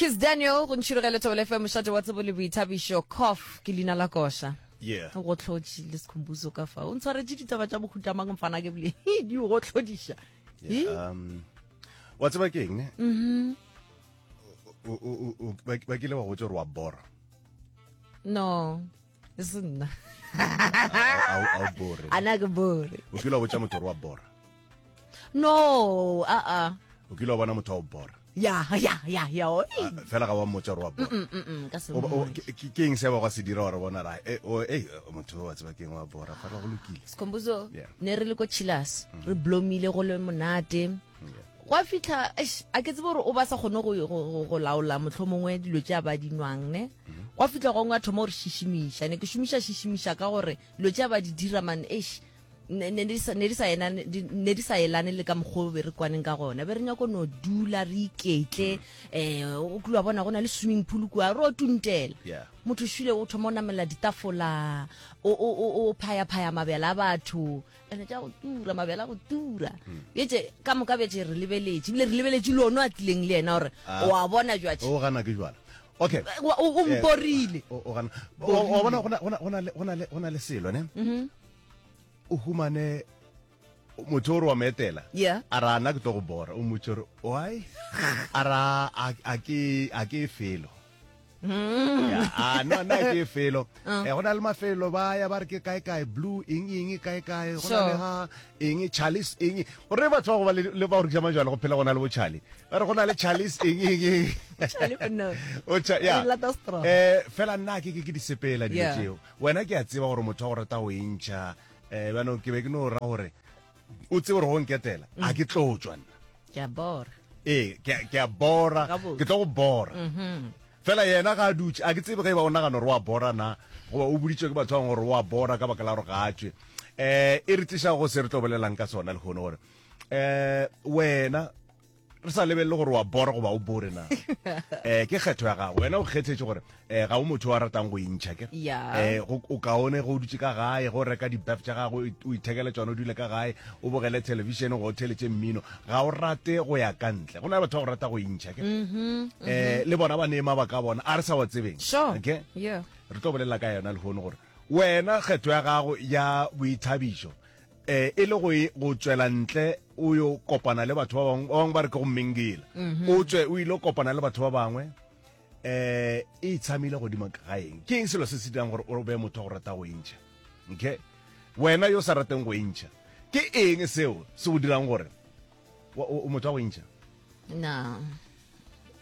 Kiss Daniel go ntšhirogele Thobela FM mošate wa tsebo le boithabišo cough ke leina la koša. Yeah. O go hlotše le Sikhumbuzo ka fa. O ntshwaretše ditaba tša mohuta mang mfana ke bile di o go hlodiša. Yeah, um, wa tseba ke eng ne? Mhm. O o o ba kile ba go botša gore wa bora. No. E se nna. A o bore. Ana ke bore. O kile wa botša motho gore wa bora. No, a a. O kile wa bona motho wa o bora. Ya, ya, ya, ya. O. Fela ga wa mmotša gore wa bora. Mm, mm, mm, ka se. Ke eng se ba go se dira gore bona ra eh o eh motho wa tseba ke eng wa bora fela go lokile. Sikhumbuzo ne re le ko Chillers, re blomile go le monate. Gwa fitlha eish a ke tsebe gore o ba sa kgone go go go laola mohlomongwe dilo tše a ba di nwang ne. Gwa fitlha gongwe a thoma gore šišimiša. Ne ke šomiša šišimiša ka gore dilo tše a ba di dira man eish ne ne di sa ne di sa ena ne di sa elane le ka mokgwa o be re kwaneng ka gona be re nyako no dula re iketle um o kile wa bona go na le swimming pool kua re o tuntela Yeah. motho šule o thoma o namela ditafola o o o o phaya-phaya mabjala a batho ene tša go tura mabjala a go tura bjetse ka moka bjetse re lebeletše ebile re lebeletše le ono a tlileng le yena gore Ah. o a bona jwatše O gana ke jwala. Okay. O- o o mporile O o gana. O o bona go na go na go na le go na le go na le selo ne. O humane motho o re wa mo etela. Yeah. A ra nna ke tlo go bora. O mmotse gore why? A ra a a ke a ke felo. Yeah, a no nna ke felo. Eh go na le mafelo ba ya ba re ke kae kae blue eng eng kae kae go na le Sure. ha eng Charles eng gore batho ba go ba le le ba go rekisa majwala go phela go na le bo Charlie. Ba re go na le Charles eng eng eng. Charlie no. O cha ya. Re lata strong. Eh fela nna ke ke ke di sepela dilo Yeah. tšeo. Wena ke a tseba gore motho wa go rata go e ntšha um bjanong ke be ke no ra gore o tsebe gore go nketela a ke tlo tšwa nna. Ke a bora. Ee, ke a- ke a bora, Gabotse. ke tlo go bora. Fela yena ga a dutše, a ke tsebe ge e ba o nagana gore o a bora na, goba o boditšwe ke batho ba bangwe gore o a bora ka baka la gore ga a tšwe. Um e re tliša go se re tlo bolelang ka sona lehono gore um wena re sa lebelele gore wa bora goba o bore na um ke kgetho ya gago wena o kgethetše gore um ga o motho wa ratang go intšha ke um o kaone go o dutše ka gae go reka dibef tša gago o ithekele tšona o dule ka gae o bogele thelebišene go o theletše mmino ga o rate go ya ka ntle go na le batho ba go rata go intšha ke um le bona ba nee mabaka a bona a re sa wa tsebeng okay re tlo bolela ka yona lehono gore wena kgetho ya gago ya boithabišo eh e le go e, go tšwela ntle o yo kopana le batho ba bangwe ba bangwe ba re ke go mingila mhm. o tswe o ile kopana le batho ba bangwe eh e itshamile godimo ga eng ke eng selo se se dirang gore o be motho wa go rata go intšha okay wena yo sa rateng go intšha ke eng seo se go dirang gore o motho wa go intšha na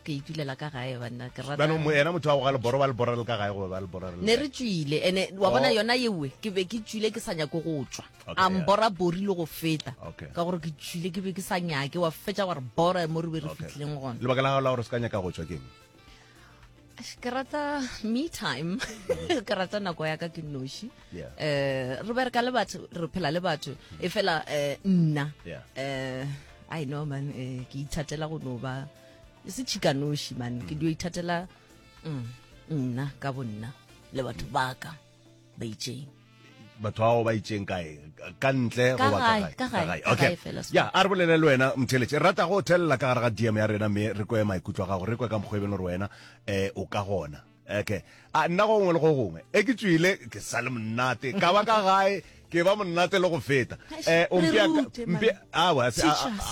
ke itulela ka gae banna ke rata Bjano mo yena motho wa go ga leboro ba le bora le ka gae goba ba le bora le ne re tšwile ene wa bona Oh. yona yewe ke be ke tšwile ke sa nyake go tšwa Okay, a yeah. mbora bori le go feta Okay. ka gore ke tšwile ke be ke sa nyake wa fetša wa re bora mo re be re Okay. fitlhileng gona lebaka la gago la gore o se ka nyaka go tšwa ke eng Eish, ke rata me time ke rata nako ya ka ke noši Yeah. eh re bereka le batho re phela le batho e fela eh nna Yeah. eh i know man eh, ke ithatela go no ba e se tšhikanoši man ke dio ithatela mm, nna ka bonna le batho ba ka ba itšeng batho bao ba itšeng kae ka ntle Ka goba ka gae, gae? ka gae, ka okay gae fela, ya a re bolele le wena mtheletše re rata go thelela ka gare ga dm ya rena mme re kwe maikutlo a gago re kwe ka mokgwa e beng gore wena um o ka gona okay a nna go gongwe le go gongwe e ke tswile ke sa le monate ka ba ka gae ke ba monate le go feta Eish, um re rute, man. Teach us.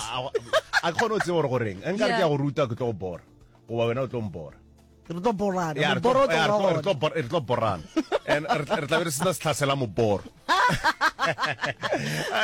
a ke kgone go tseba gore goreng nka re ke Yeah. ya go ruta ke tlo go bora goba wena o tlo mbora re tlo borana Ya, re tlo- moboro o tlo ya, re ba tlo- re gona. tlo bor- re tlo borana and re tla re tla be re sena setlhasela moboro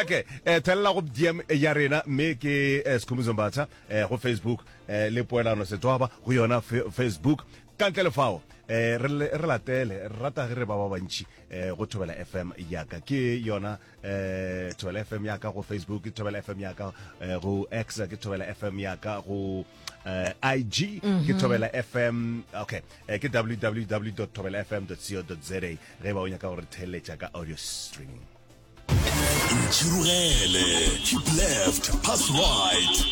okay eh thelela go dm ya rena mme ke eh, Sikhumbuzo Mbatha eh, go facebook eh, le poelano setwaba go yona fe- facebook Ka ntle le fao, eh, re, re latele, re rata ge re ba ba bantši eh, go Thobela FM yaka. Ke yona eh, Thobela FM yaka go Facebook, ke Thobela FM yaka eh, go X, ke Thobela FM yaka go eh, IG, ke Thobela FM, okay, eh, ke www.thobelafm.co.za ge ba o nyaka go re theeletša ka audio streaming. Ntšhirogele, keep left, pass right.